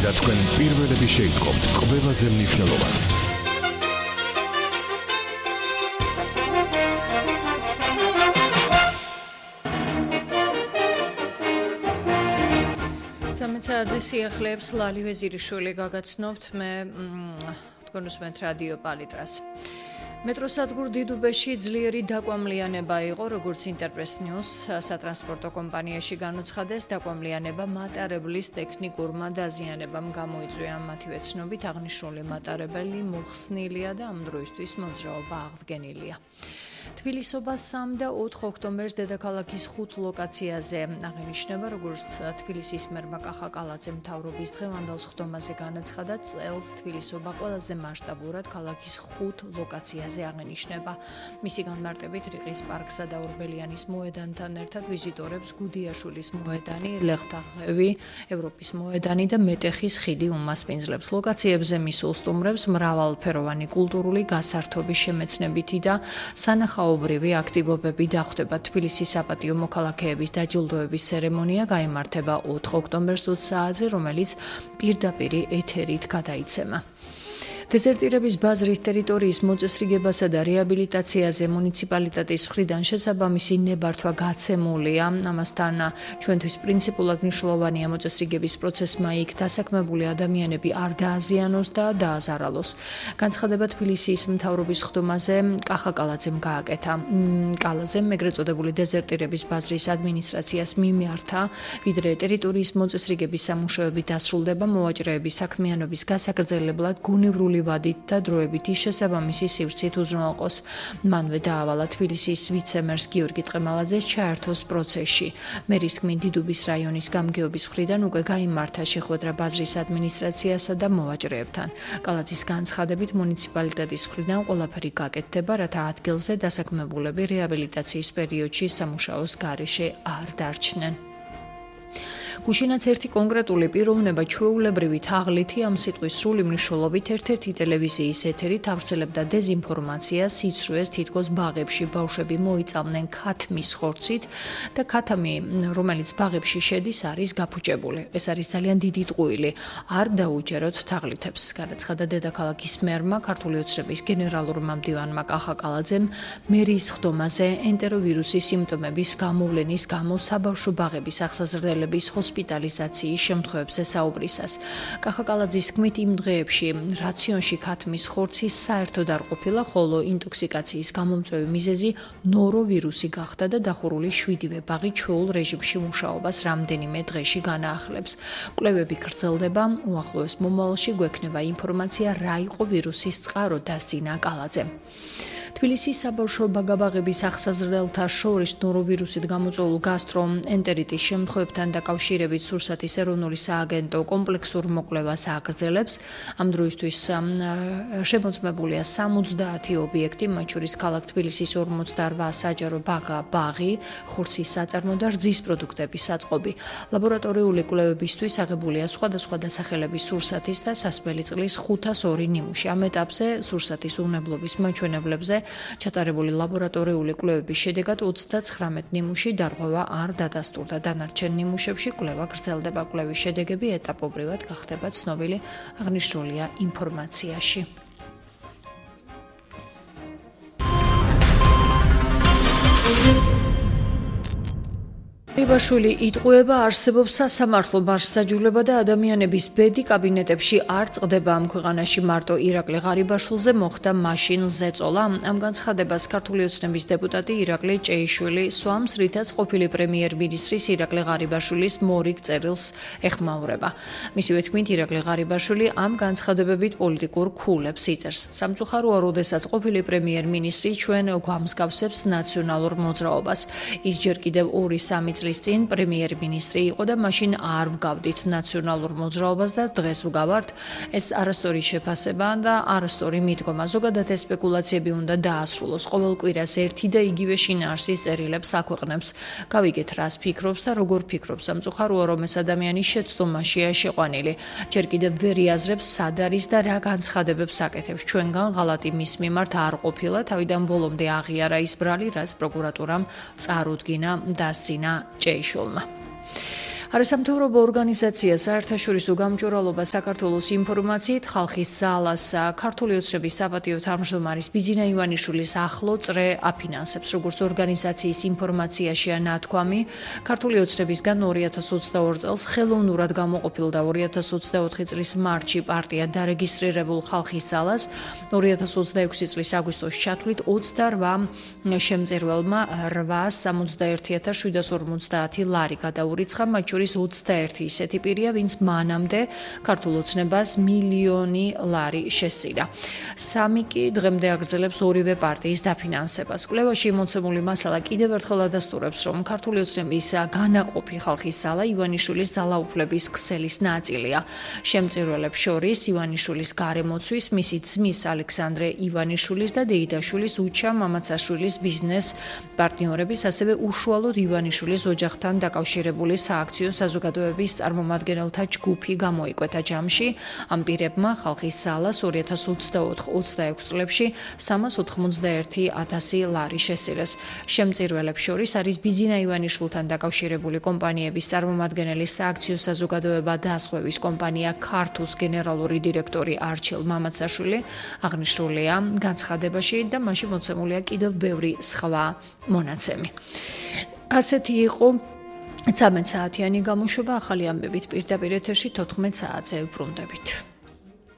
და თქვენ პირველები შეიტყობთ ყველაზე მნიშვნელოვანს. სამეცაძის სიახლეებს ლალი ვეზირიშვილი გაგაცნობთ მე თქვენ უსმენთ რადიო პალიტრას. მეტროსადგურ დიდუბეში ძლიერი დაკვამლიანება იყო, როგორც ინტერპრეს ნიუს სატრანსპორტო კომპანიაში განუცხადეს, დაკვამლიანება მატარებლის ტექნიკურმა დაზიანებამ გამოიწვია. მათივე ცნობით აღნიშნული მატარებელი მოხსნილია და ამ დროისთვის მოძრაობა აღდგენილია. თბილისობა 3 და 4 ოქტომბერს დედაქალაქის 5 ლოკაციაზე აღინიშნება, როგორც თბილისის მერმა კახა კალაძე მთავრობის დღევანდელ სხდომაზე განაცხადა, წელს თბილისობა ყველაზე მასშტაბურად ქალაქის 5 ლოკაციაზე აღინიშნება. მისი განმარტებით რიყის პარკსა და ორბელიანის მოედანთან ერთად ვიზიტორებს გუდიაშვილის მოედანი, ლეხტაღები, ევროპის მოედანი და მეტეხის ხიდი უმასპინძლებს. ლოკაციებზე მისულ სტუმრებს მრავალფეროვანი კულტურული გასართობის შემეცნებითი და სანახაობრივი აქტივობები დახვდება. თბილისის საპატიო მოქალაქეების დაჯილდოების ცერემონია გაიმართება 4 ოქტომბერს 20 საათზე, რომელიც პირდაპირ ეთერით გადაიცემა. დეზერტირების ბაზრის ტერიტორიის მოწესრიგებასა და რეაბილიტაციაზე მუნიციპალიტეტის მხრიდან შესაბამისი ნებართვა გაცემულია. ამასთან ჩვენთვის პრინციპულად მნიშვნელოვანია მოწესრიგების პროცესმა იქ დასაქმებული ადამიანები არ დააზიანოს და დააზარალოს. განცხადება თბილისის მთავრობის სხდომაზე კახა კალაძემ გააკეთა. კალაძემ ეგრეთ წოდებული დეზერტირების ბაზრის ადმინისტრაციას მიმართა, ვიდრე ტერიტორიის მოწესრიგების სამუშაოები დასრულდება, მოვაჭრეების საქმიანობის გასაგრძელებლად გუნივრული ვადით და დროებითი შესაბამისი სივრცით უზრუნველყოს. მანვე დაავალა თბილისის ვიცე-მერს გიორგი ტყემალაძეს ჩაერთოს პროცესში. მერის თქმით, დიდუბის რაიონის გამგეობის მხრიდან უკვე გაიმართა შეხვედრა ბაზრის ადმინისტრაციასა და მოვაჭრეებთან. კალაძის განცხადებით, მუნიციპალიტეტის მხრიდან ყველაფერი გაკეთდება, რათა ადგილზე დასაქმებულები რეაბილიტაციის პერიოდში სამუშაოს გარეშე არ დარჩნენ. გუშინაც ერთი კონკრეტული პიროვნება ჩვეულებრივი თაღლითი ამ სიტყვის სრული მნიშვნელობით ერთ-ერთი ტელევიზიის ეთერით ავრცელებდა დეზინფორმაციას, სიცრუეს, თითქოს ბაღებში ბავშვები მოიწამნენ ქათმის ხორცით და ქათამი, რომელიც ბაღებში შედის, არის გაფუჭებული. ეს არის ძალიან დიდი ტყუილი. არ დაუჯეროთ თაღლითებს, განაცხადა დედაქალაქის მერმა, ქართული ოცნების გენერალურმა მდივანმა კახა კალაძემ მერის სხდომაზე ენტეროვირუსის სიმპტომების გამოვლენის გამო საბავშვო ბაღების აღსაზრდელების ჰოსპიტალიზაციის შემთხვევებზე საუბრისას. კახა კალაძის თქმით, იმ დღეებში რაციონში ქათმის ხორცი საერთოდ არ ყოფილა, ხოლო ინტოქსიკაციის გამომწვევი მიზეზი ნოროვირუსი გახდა და დახურული 7-ვე ბაღი ჩვეულ რეჟიმში მუშაობას რამდენიმე დღეში განაახლებს. კვლევები გრძელდება, უახლოეს მომავალში გვექნება ინფორმაცია, რა იყო ვირუსის წყარო, დასძინა კალაძემ. თბილისის საბავშვო ბაგაბაღების აღსაზრდელთა შორის ნოროვირუსით გამოწვეულ გასტროენტერიტის შემთხვევებთან დაკავშირებით სურსათის ეროვნული სააგენტო კომპლექსურ მოკვლევას აგრძელებს. ამ დროისთვის შემოწმებულია 70 ობიექტი, მათ შორის ქალაქ თბილისის 48 საჯარო ბაღი, ხორცის საწარმო და რძის პროდუქტების საწყობი. ლაბორატორიული კვლევებისთვის აღებულია სხვადასხვა დასახელების სურსათის და სასმელი წყლის 502 ნიმუში. ამ ეტაპზე სურსათის უნებლობის მაჩვენებლებზე ჩატარებული ლაბორატორიული კვლევების შედეგად 39 ნიმუში დარღვევა არ დადასტურდა. დანარჩენ ნიმუშებში კვლევა გრძელდება. კვლევის შედეგები ეტაპობრივად გახდება ცნობილი, აღნიშნულია ინფორმაციაში. რიბაშვილი იტყუება, არსებობს სასამართლო მარსაჯულება და ადამიანების ბედი კაბინეტებში არ წყდება. ამ ქვეყანაში მარტო ირაკლი ღარიბაშვილზე მოხდა მაშინ ზეწოლა. ამ განცხადებას ქართული ოცნების დეპუტატი ირაკლი ჭეიშვილი სვამს, რითაც ყოფილი პრემიერ-მინისტრის ირაკლი ღარიბაშვილის მორიგ წერილს ეხმაურება. მისივე თქმით, ირაკლი ღარიბაშვილი ამ განცხადებებით პოლიტიკურ ქულებს იწერს. სამწუხაროა, როდესაც ყოფილი პრემიერ-მინისტრი ჩვენ გვამსგავსებს ნაციონალურ მოძრაობას. ის ჯერ კიდევ 2-3 წლის წინ პრემიერ-მინისტრი იყო და მაშინ არ ვგავდით ნაციონალურ მოძრაობას და დღეს ვგავართ. ეს არასწორი შეფასება და არასწორი მიდგომა. ზოგადად ეს სპეკულაციები უნდა დაასრულოს. ყოველ კვირას ერთი და იგივე შინაარსის წერილებს აქვეყნებს. გავიგეთ, რას ფიქრობს და როგორ ფიქრობს. სამწუხაროა, რომ ეს ადამიანი შეცდომაშია შეყვანილი. ჯერ კიდევ ვერ იაზრებს, სად არის და რა განცხადებებს აკეთებს. ჩვენგან ღალატი მის მიმართ არ ყოფილა, თავიდან ბოლომდე აღიარა ის ბრალი, რაც პროკურატურამ წარუდგინა დასძინა ჭეიშვილმა. არასამთავრობო ორგანიზაცია საერთაშორისო გამჭვირვალობა საქართველოს ინფორმაციით ხალხის ძალას ქართული ოცნების საპატიო თავმჯდომარის ბიძინა ივანიშვილის ახლო წრე აფინანსებს, როგორც ორგანიზაციის ინფორმაციაშია ნათქვამი. ქართული ოცნებისგან 2022 წელს ხელოვნურად გამოყოფილ და 2024 წლის მარტში პარტია დარეგისტრირებულ ხალხის ძალას 2026 წლის აგვისტოს ჩათვლით 28 შემწირველმა 861.750 ლარი გადაურიცხა, მათ შორის 21 ისეთი პირია, ვინც მანამდე ქართულ ოცნებას მილიონი ლარი შესწირა. 3 კი დღემდე აგრძელებს ორივე პარტიის დაფინანსებას. კვლევაში მოცემული მასალა კიდევ ერთხელ ადასტურებს, რომ ქართული ოცნების განაყოფი ხალხის ძალა ივანიშვილის ძალაუფლების ქსელის ნაწილია. შემწირველებს შორის ივანიშვილის გარემოცვის, მისი ძმის ალექსანდრე ივანიშვილის და დეიდაშვილის უჩა მამაცაშვილის ბიზნეს პარტნიორების, ასევე უშუალოდ ივანიშვილის ოჯახთან დაკავშირებული სააქციო საზოგადოების წარმომადგენელთა ჯგუფი გამოიკვეთა ჯამში. ამ პირებმა ხალხის ძალას 2024-26 წლებში 391.000 ლარი შესწირეს. შემწირველებს შორის არის ბიძინა ივანიშვილთან დაკავშირებული კომპანიების წარმომადგენელი, სააქციო საზოგადოება დასხმევის კომპანია ქართუს გენერალური დირექტორი არჩილ მამაცაშვილი. აღნიშნულია განცხადებაში და მასში მოცემულია კიდევ ბევრი სხვა მონაცემი. ასეთი იყო 13 საათიანი გამოშვება. ახალი ამბებით პირდაპირ ეთერში 14 საათზე ვბრუნდებით.